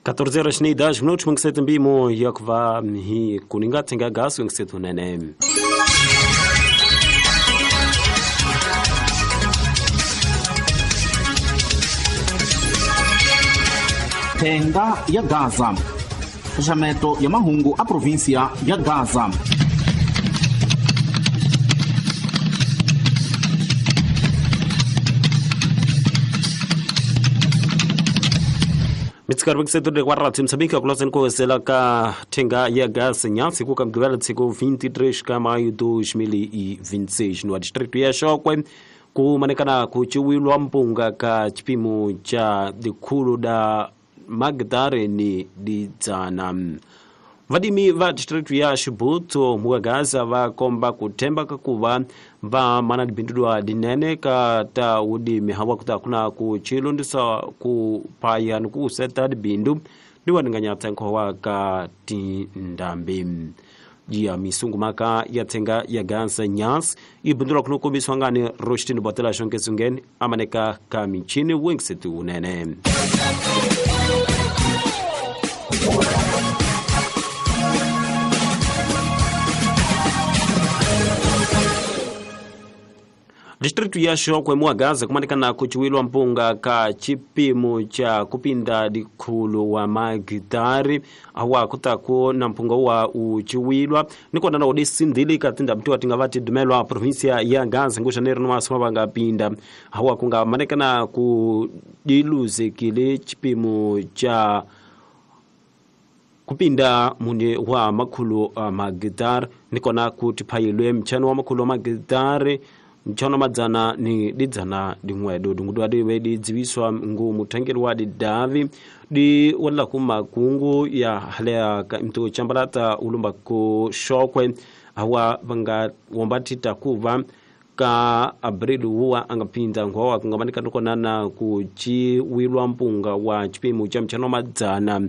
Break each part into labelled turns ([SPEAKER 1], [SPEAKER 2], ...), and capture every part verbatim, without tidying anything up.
[SPEAKER 1] catorze horas e dez minutos, mangisete mbimo yakuva hi kuninga tsenga gaso ngisetu nene.
[SPEAKER 2] Thenga ya Gaza. Xaxameto ya mahungu a província ya Gaza.
[SPEAKER 1] Mitsikari setor de guarda Moçambique a nkozela ka thenga ya gas nyasi ku kamgibela tsiku vinte e três ka maio dois mil e vinte e seis no distrito ya Chókwè ku manekana ku chiwilwa mpunga ka chipimo cha dikhulu da magdare ni didzana. Vadimi va distrito ya Chibuto muwa Gaza va komba kuthemba kakuva va mana dibindudwa dinene ka ta udimi hawa kuta kuna ku chilundisa ku paya ni ku seta dibindu diwaninganya nkhowa ka tindambi. Ya misungu maka ya thenga ya Gaza nyas ibindulwa kuno kombiswa ngani Roshtini Botela Shonkesungen amaneka ka michini wengsetu unene. Distrito ya Chókwè muwa Gaza kumanikana kuchiwilwa mpunga ka chipimo cha kupinda dikhulu wa magitari awa kutako na mpunga wa uchiwilwa nikona na odisindili katinda mtu atinga vati dumelwa província ya Gaza ngushaneri no asoma banga pinda awa kunga manekana kudiluzekile chipimo cha kupinda mune wa makhulu uh, magitari nikona kutiphayilwe mchano wa makhulu wa magitari mchano madzana ni didzana dingwedo dingudwa diwe didziwiswa ngu muthengeri wa didavi di wala kuma kungu ya halea ka mtu chambalata ulumba ku Chókwè awa vanga wombatita kuva ka abril wuwa angapinda nkhowa kungamanika nukonana ku chiwilwa mpunga wa chipimo cha mchano madzana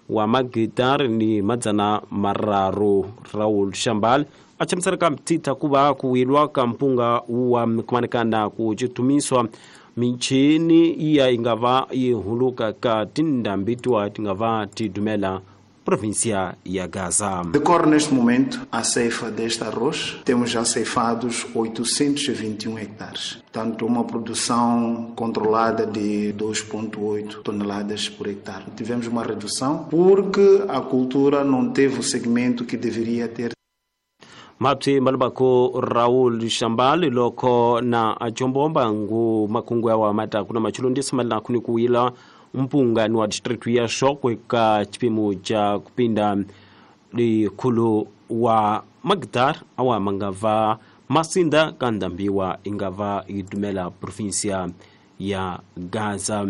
[SPEAKER 1] wa magitari ni madzana mararu. Raul Shambal achamusarika mtita kuva kuwilwa ka mpunga wa kumanikana kuchitumiswa michini iya ingava ihuluka ka tindambitwa tingava tidumela província ya Gaza.
[SPEAKER 3] Decorre neste momento a ceifa deste arroz. Temos já ceifados oitocentos e vinte e um hectares. Portanto, uma produção controlada de dois vírgula oito toneladas por hectare. Tivemos uma redução porque a cultura não teve o segmento que deveria ter.
[SPEAKER 1] Mapti malubako Raul Shambali loko na achombomba ngu makungu ya wa mata kuna machulundisa malina kuni kuwila mpunga ni wa district ya Chókwè ka chipimo cha kupinda likhulu wa magdar awa mangava masinda kandambiwa ingava idumela província ya Gaza.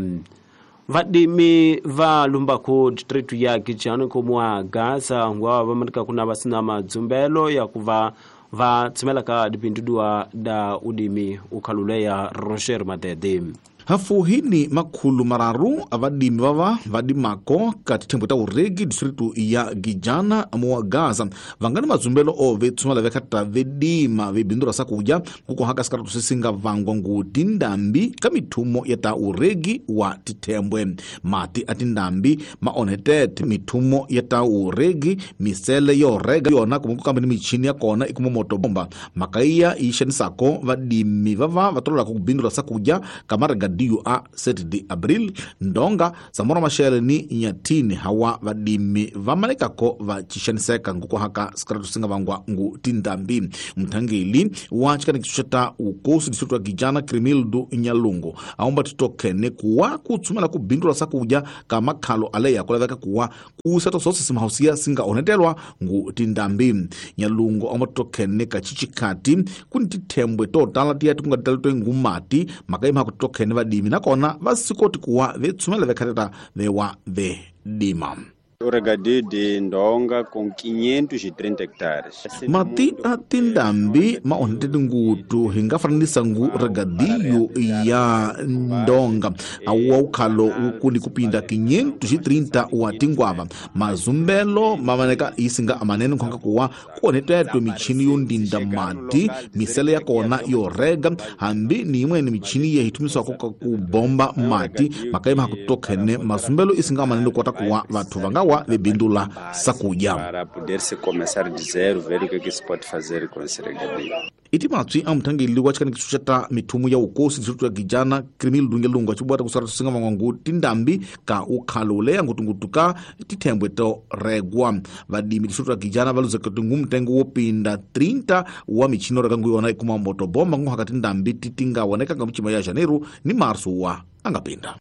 [SPEAKER 1] Vadimi va lumbako district ya Kichano komwa Gaza ngwa vamanika kuna vasina madzumbelo ya kuva va tshimela ka dipindudwa da udimi ukhalule ya Roger Madede.
[SPEAKER 2] Hafuhini makhulu mararu avadimi vava vadimako ka tithembo ta uregi distritu ya Gijana muwa Gaza vangani madzumbelo ove tsumala vekhata vedima vebindura sakudya kukohaka sikaratu sesinga vangwa ngu tindambi ka mithumo ya ta uregi wa tithembwe. Mati a tindambi maonhetete mithumo ya ta uregi misele yo rega yona kumbe ku kambe ni michini ya kona ikuma moto bomba makaiya yi xanisako vadimi vava va tololaka ku bindura sakudya ka marega D U A sete de abril ndonga Samora Machel ni Nyatini hawa vadimi vamalekako va chixaniseka ngukuhaka sikaratu singa vangwa ngu tindambi. Mthangeli wa chikanikiso ta ukosi distritu ya Gijana Crimildo Nyalungu aomba titokene kuwa kutsumela kubindula sakudya ka makhalo aleya kulaveka kuwa kusato sose simahausiya singa onetelwa ngu tindambi. Nyalungu aomba titokene ka chichikati kuni tithembwe totala tiya tikungatalitwe ngumati makaima kutokene vadimi nakona vasikoti kuwa vetsumela vekhateta vewa vedima.
[SPEAKER 4] O regadio de Ndonga com quinhentos e trinta hectares.
[SPEAKER 2] Mati a tindambi ma onhete ngutu hi nga fananisa ngu regadio ya Ndonga awa ukhalo ukuni kupinda quinhentos e trinta wa tingwava mazumbelo mamaneka isinga amanene nkhonga kuwa kuonetwetwe michini yo ndinda mati misele ya kona yo rega hambi ni imweni michini ye hitumiswako ka ku bomba mati makaima hakutokhene mazumbelo isinga amanene kota kuwa vathu vangawa vebindula sakuja
[SPEAKER 4] para poder se começar de zero ver o que que se pode fazer com esse regadio.
[SPEAKER 2] Iti matswi a muthangeli wa tshikanikiso xa ta mithumu ya ukosi district ya Gijana Krimil Lungelunga tshibwata kusara singa van'wangu tindambi ka ukhalo leya ngutungutu ka tithembwe to regwa vadimi district ya Gijana va luzeka tingu mtengo wo pinda trinta wa michino reka nguyona ikuma moto bomba nguhaka tindambi titinga woneka nga michima ya Janeiro ni Março wa angapinda.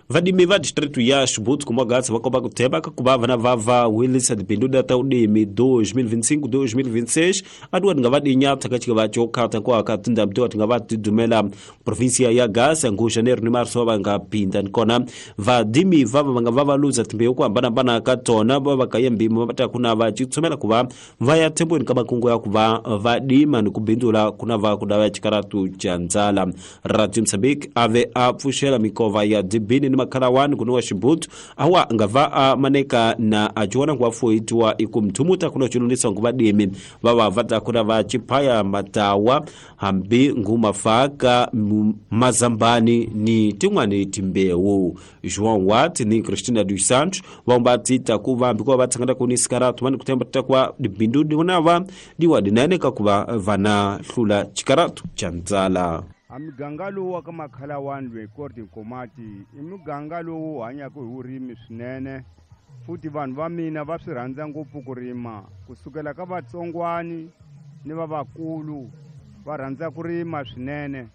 [SPEAKER 1] Vadimi va distrito ya Xibutsu kumwagatsi va komba ku tshemba ka ku va vana va va wilisa dibindu ta udimi dois mil vinte e cinco dois mil vinte e seis atuwa tinga va dinyatsa ka chika va chokhata kwa ka tindambi tiwa tinga va tidumela província ya Gaza ngu Janeiro ni Março va nga pinda nikona vadimi va va nga va va luza timbewu ku hambanahambana ka tona va va ka yembimo va ta kuna va chitsomela ku va va ya thembweni ka makungu ya ku va va dima ni ku bindula kuna va ku dava chikaratu cha ndzala. Radio Mozambique ave a pfuxela mikova ya dibini ni makhalawani kuno wa Xibutsu awa nga va a maneka na ajiwana ngwa foitiwa ikumthumuta kuno chilundisa nguva dimi va va va ta kuna va chiphaya matawa hambi ngumafaka mazambani ni tin'wani timbewu. João Watt ni Cristina dos Santos vamba tita ku va hambi ku va tshangana ku ni sikaratu vani kutemba ta kwa dibindu diwona diwa dinene ka ku va vana hlula chikaratu cha ndzala.
[SPEAKER 5] A muganga lowu wa ka makhalawani loyi Korti Nkomati i muganga lowu hanyaka hi vurimi swinene futhi vanhu va mina va swi rhandza ngopfu ku rima kusukela ka vatsongwani ni va vakulu va rhandza ku rima swinene.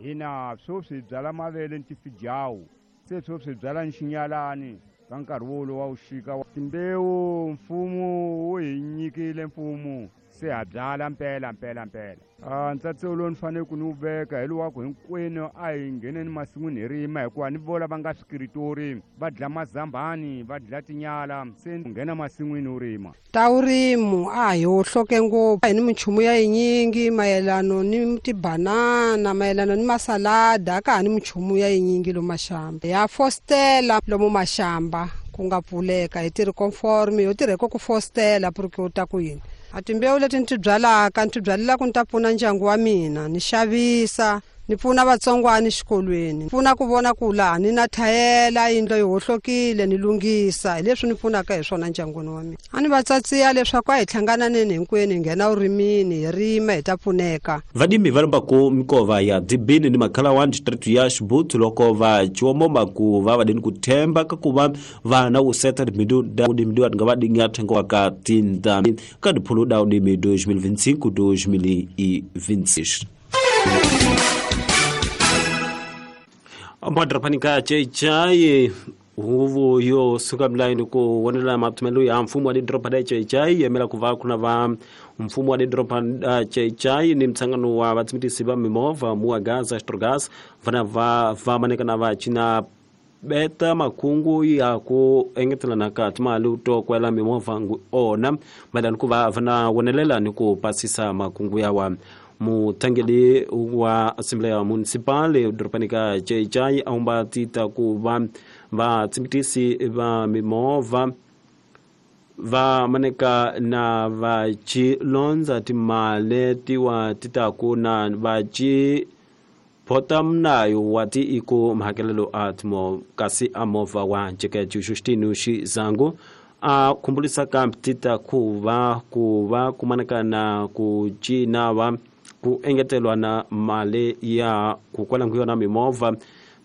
[SPEAKER 5] Hina sweswi hi byala mavele ni tifijawu se sweswi hi byala nxinyalani ka nkarhi wolowo wa vuxika. Timbewu mfumo wu hi nyikile mfumo se ha byala mpela mpela mpela. Ah ntsatso lowu ni fanele ku ni wu veka hi lowu ku hinkwenu a hi ngheneni masin'wini hi rima hikuva ni vola va nga swikiritori va dla mazambani va dla tinyala se nghena masin'wini u rima.
[SPEAKER 6] Ta vurimu a hi hohloke ngopfu hi ni minchumu ya yinyingi mayelano ni tibanana mayelano ni masalada a ka ha ni minchumu ya yinyingi lomu maxamba ya fostela lomu maxamba ku nga pfuleka hi tirhi conforme yo tirha ku fostela porque u ta ku yini. A timbewu leti ni ti byalaka ni ti byalela ku ni ta pfuna ndyangu wa mina ni xavisa ni pfuna vatsongwana xikolweni pfuna ku vona ku laha ni na thayela yindlu yi hohlokile ni lunghisa hi leswi ni pfunaka hi swona ndyangwini wa mina. A ni va tsatsiya leswaku a hi hlangananeni hinkwenu hi nghena urimini hi rima hi ta pfuneka.
[SPEAKER 1] Vadimi va lombaku mikova ya dibini ni makhalawani district ya Xibutsu loko va chiwomoma ku va va dini ku themba ka ku va vana wu seta dibindu da udimi wa nga va dinga thengo wa ka tindami ka diphulu da udimi dois mil vinte e cinco dois mil e vinte e seis. Madrapanika chechai huvu yo suka mlaini ku wonela matumelo ya mfumo wa didropa da chechai yemela kuva kuna va mfumo wa didropa da chechai ni mtsangano wa vatsimitisi va mimovha muwa Gaza Astrogas vana va va maneka na va china beta makungu ya ku engetelana ka timali to kwela mimovha ngu ona madani ku va vana wonelela ni ku pasisa makungu ya wa mutangeli wa Assembleia Municipal doropanika Chechai aumba tita ku va va tsimitisi va mimovha va maneka na va chilonza timale tiwa tita ku na va chi phota mnayo wa ti iko mahakelelo a timo kasi a movha wa Jeke Justino Xizangu a khumbulisa ka tita ku va ku va kumaneka na ku cina va ku engetelwa na mali ya ku kwala nguyona mimovha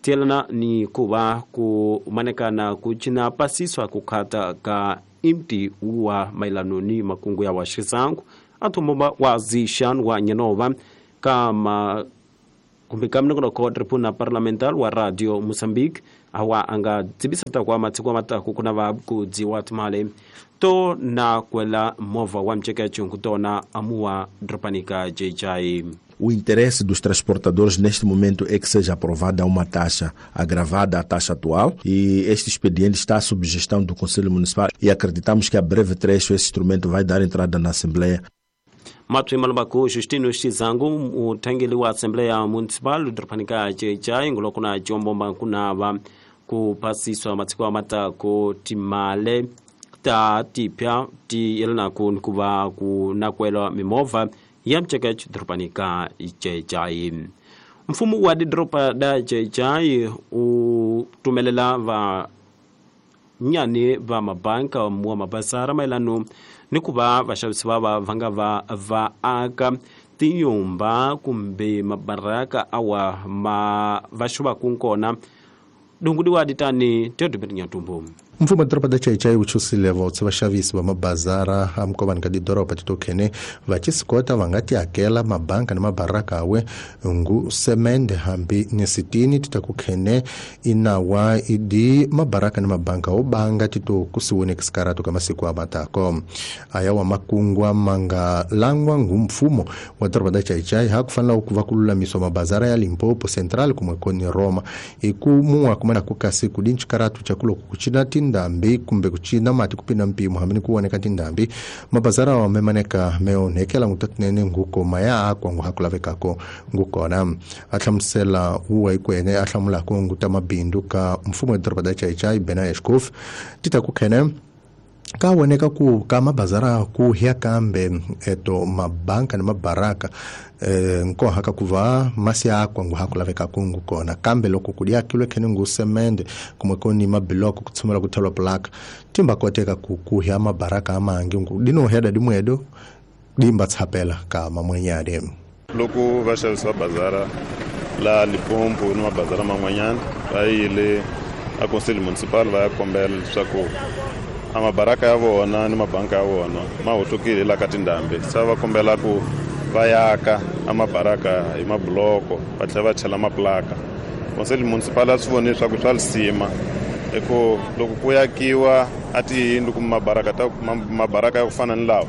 [SPEAKER 1] tielana ni ku va ku maneka na ku cina pasiswa ku khata ka imti wa mailano ni makungu ya wa Xizangu athomba wa zishan wa nyenova kama kumbe kamnongo ko tribuna parlamentar wa Radio Mozambique awa anga dzibisa ta kwa matsiko mataku kuna va ku dziwa timale to na kwela movha wa mcheka chungu tona amuwa dropanika J J.
[SPEAKER 7] O interesse dos transportadores neste momento é que seja aprovada uma taxa agravada à taxa atual e este expediente está sob gestão do Conselho Municipal e acreditamos que a breve trecho esse instrumento vai dar entrada na Assembleia.
[SPEAKER 1] Matwi malubako Justino Xizangu muthangeli wa Assembleia Municipal doropanika Chaichai ngulokuna chombomba kunava kuphasiswa matsiko amatako timale ta tipya ti yelanaku nikuva kunakwelwa mimovha ya mchekech doropanika Chaichai. Mfumo wa doropa da Chaichai u tumelela va nyani va mabanka wa mabazara maelano ni ku va vaxavisi va va va nga va va aka tinyumba kumbe mabaraka awa ma va xuvaku kona dungudiwa ditani teodoberinyatumbu.
[SPEAKER 8] Mfumo wa doroba da Chaichai wu chusile votse vaxavisi va mabazara amikovani ka tidoroba titokhene va chisikota va nga ti hakela mabanka ni mabaraka awe ngu semende hambi ni sitini titakukhene inawa idi mabaraka ni mabanka wo banga tito kusiwone kisikarato ka masiku amatako aya wa makungwa manga langwa ngu mfumo wa doroba da Chaichai hakufanela ku va ku lulamiswa mabazara ya Limpopo Central kumwe koni Roma iku muwa kumana kukasi kudinchikaratu chakulo kuchina tindambi kumbe kuchina mati kupinda mpimo hamini kuoneka tindambi mabazara wa memaneka meonekela ngutatinene nguko maya akwa nguhakulavekako ngukona ahlamusela uwa ikwene ahlamulako nguta mabindu ka mfumo wa doroba da Chaichai Bena Eshkof titakukhene kawoneka ku ka mabazara ku hia kambe eto mabanka ni mabaraka e, nkoha ka kuva masi akwa nguhakulaveka kungu kona kambe loko kudia kilwe khene ngu semende kumwe koni mabiloko kutsumela kuthelwa plaka timba koteka ku kuhia mabaraka amangi ngu dino heda dimwedo dimba tsapela ka mamwenyade
[SPEAKER 9] loko vaxavisi va bazara la Limpopo ni mabazara man'wanyana va yile a Conselho Municipal va ya kombela leswaku a mabaraka ya vona ni mabanka ya vona ma hohlokile la ka tindhambi se va kombela ku va yaka a mabaraka hi mabuloko va tlhela va chela maplaka. Conselho Municipal a swi voni leswaku swa lisima hi ku loko ku yakiwa a tiyindlu kumbe mabaraka ta mabaraka ya ku fana ni lawa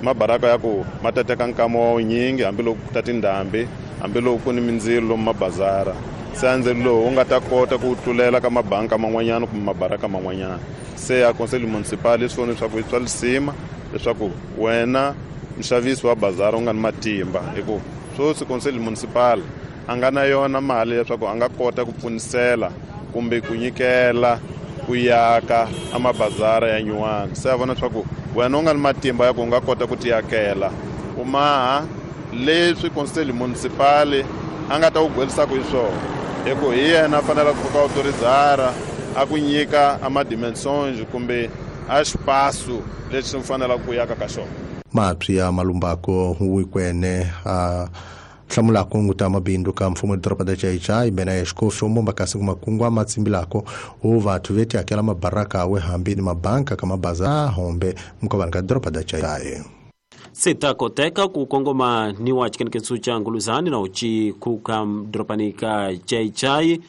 [SPEAKER 9] mabaraka ya ku ma ta teka nkama wa wunyingi hambiloko ku ta tindhambi hambiloko ku ni mindzilo lomu mabazara se a ndzilo lowu wu nga ta kota ku tlulela ka mabanka man'wanyana kumbe mabaraka man'wanyana. Se a Conselho Municipal swi vona leswaku swa lisima leswaku wena mxavisi wa bazara u nga ni matimba hi ku swoswi Conselho Municipal a nga na yona mali leswaku a nga kota ku pfunisela kumbe ku nyikela ku yaka a mabazara ya nyuwana. Se a vona leswaku wena u nga ni matimba ya ku u nga kota ku tiyakela u maha leswi Conselho Municipal a nga ta ku gwelisaka hi swona hi ku hi yena a fanele ku fika autorizara a ku nyika a madimensions kumbe a xipasu lexi u fanelaka ku yaka ka xona.
[SPEAKER 8] Mapsi ya malumbako wikwene a hlamulako nguta mabindu ka mfumo wa doroba da Chaichai Bena Eshkof ombomba kasi kumakungwa matsimbilako o vathu veti hakela mabaraka awe hambi ni mabanka ka mabaza hombe mkovani ka doroba da Chaichai.
[SPEAKER 1] Sitakoteka ku kongoma ni wa chikenekeso cha Nguluzani na uchi kuka doropani ka Chaichai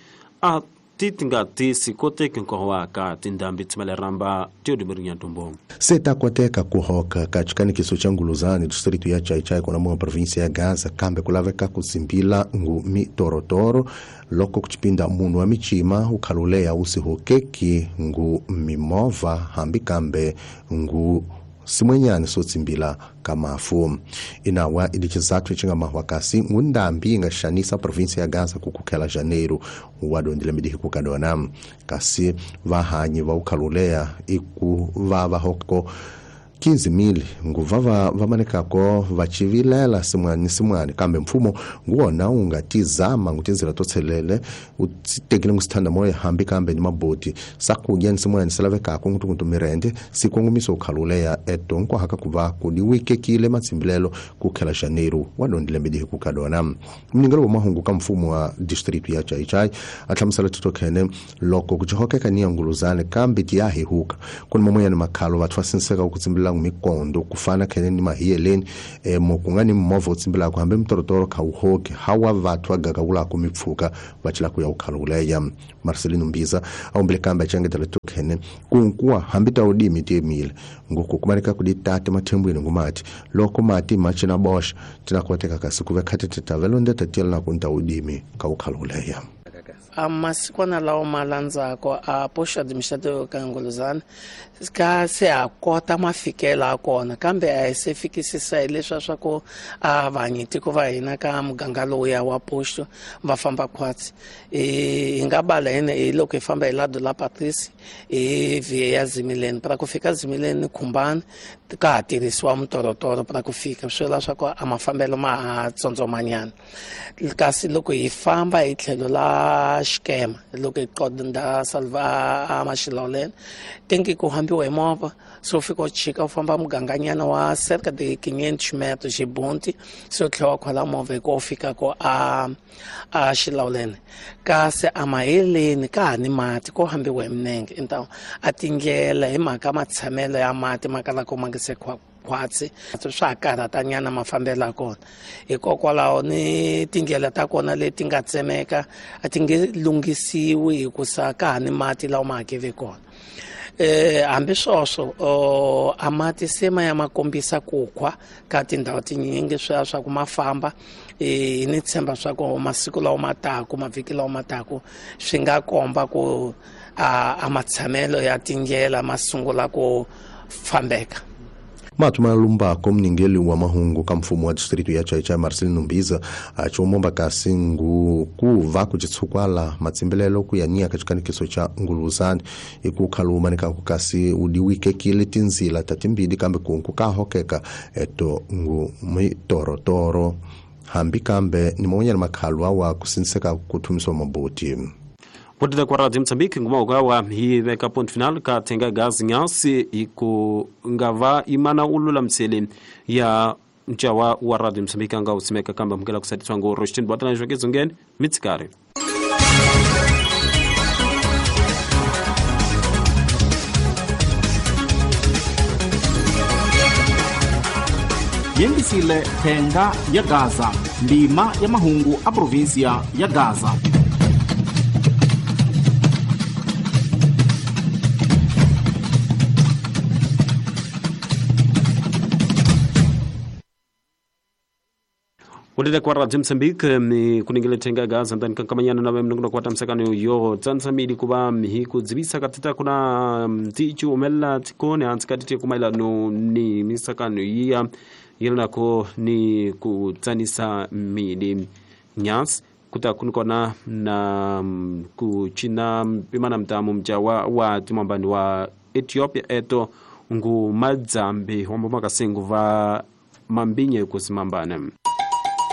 [SPEAKER 1] a titinga tisi koteki nkohowa ka tindhambi tsimale ramba teodoberinyatumbu.
[SPEAKER 8] Sitakoteka kuhoka ka chikanikiso cha Nguluzani distrito ya Chaichai kona mwa província ya Gaza kambe kulaveka kutsimbila ngu mitorotoro loko kuchipinda munhu wa michima ukhaluleya usihokeki ngu mimova hambi kambe ngu simwenyani sotsimbila kamafu. Inawa ili chizathu chinga mahwakasi ngundambi ingashanisa província ya Gaza kukukhela Janeiro wadondile midihi kukadona kasi vahanyi va ukhaluleya iku vava hoko quinze mil nguvava vamanekako vachivilela simwani simwani kambe mfumo nguwona ungatizama ngutinzira totselele utekile ngusithanda moya hambi kambe ni maboti sakudya ni simwani silavekako ngutungutu mirende sikongomiso ukhaluleya eto nkwahaka kuva kudiwikekile matsimbilelo kukhela Janeiro wadondile midihi kukadona. Mningelo wa mahungu ka mfumo wa district ya Chaichai ahlamusela titokhene loko kuchihokeka ni ya Nguluzane kambe tiyahihuka kuni mamoya ni makhalo vathu vasinseka ukutsimbila tsimbilaka mikondo ku fana khene ni mahiyeleni eh, mo ku nga ni movha wu tsimbilaka hambi mitorotoro kha wu hoki hawa vathu va gagawulaka mipfhuka va cela ku ya wu khaluleya. Marcelino Mbiza a humbile kambe a cengetela tokhene kunkuwa hambi ta udimi tiemile ngoko kumanika ku ditata mathembweni ngumati loko mati ma cina boxa tina koteka kasi ku ve khatete tavelonde tatiyela ku nta udimi ka wu khaluleya.
[SPEAKER 10] A masikwana lawa ma landzako a posto administrativo ka Nguluzana ka se a kota mafikelo a kona kambe a hi se fikisisa hileswa swa ku a vanyitiko va hina ka muganga lowuya wa posto va famba khwatsi. Hi nga bala hina hi loko hi famba hi lado la Patrice hi via ya Zimileni para ku fika Zimileni Khumbani ka ha tirhisiwa mitorotoro para ku fika swi vula swa ku a mafambelo ma ha tsondzomanyana. Kasi loko hi famba hi tlhelo la Xikema loko hi qonda Salva a Maxiloleni tenki ku hambiwa hi movha se u fika u chika u famba muganganyana wa cerca de quinhentos metros xibunti se u tlhela wa khwela movha hi ku u fika ko a a Xilawuleni. Kasi a maheleni ka ha ni mati ko hambiwa hi minenge então a tindlela hi mhaka matshamelo ya mati ma kalaka ma nge se khwatsi swa ha karhatanyana mafambelo ya kona. Hikokwalaho ni tindlela ta kona leti nga tsemeka a ti nge lunghisiwi hikusa ka ha ni mati lawa ma hakeve kona. Eh hambi sweswo a mati se ma ya ma kombisa ku khwa ka tindhawu tinyingi swa swa ku ma famba eh ni tshemba swa ku masiku lawa ma taku mavhiki lawa ma taku swi nga komba ku a matshamelo ya tindlela ma sungula ku fambeka.
[SPEAKER 8] Matu malumbako mningeli wa mahungu ka mfumo wa distrito ya Chaichai Marcelino Mbiza achomomba kasi ngu kuva kuchitsukwala matsimbelelo ku ya nyaka chikanikiso cha Nguluzani ikukhaluma nikaku kasi udiwikekile tinzila tatimbili kambe kunku ka hokeka eto ngu mitorotoro hambi kambe ni monyana makhalwa wa kusinseka kuthumiswa maboti.
[SPEAKER 1] Kutida kwa Radio Mozambique nguma ugawa hi veka point final ka tenga gazi nyasi iku ngava imana ulula msele ya mchawa wa Radio Mozambique nga usimeka kamba mkela kusatiswa ngo Roshtin Bwatana jwakezo ngeni mitsikari.
[SPEAKER 2] Yengisile tenga ya Gaza, ndima ya mahungu a provincia ya Gaza.
[SPEAKER 1] Kutida kwa Radio Mozambique ni kuningile tenga Gaza ndani kankamanyana na mnungu kwa tamsakano yo tsansamili kuba mihiku dzibisa katita kuna mtichu umela tikone ansikatite kumaila no ni misakano iya yelnako ni kutsanisa mili nyas kuta kunikona na kuchina pimana mtamu mjawa wa timambani wa Ethiopia eto ngu madzambi wamba makasengu va mambinye kusimambane.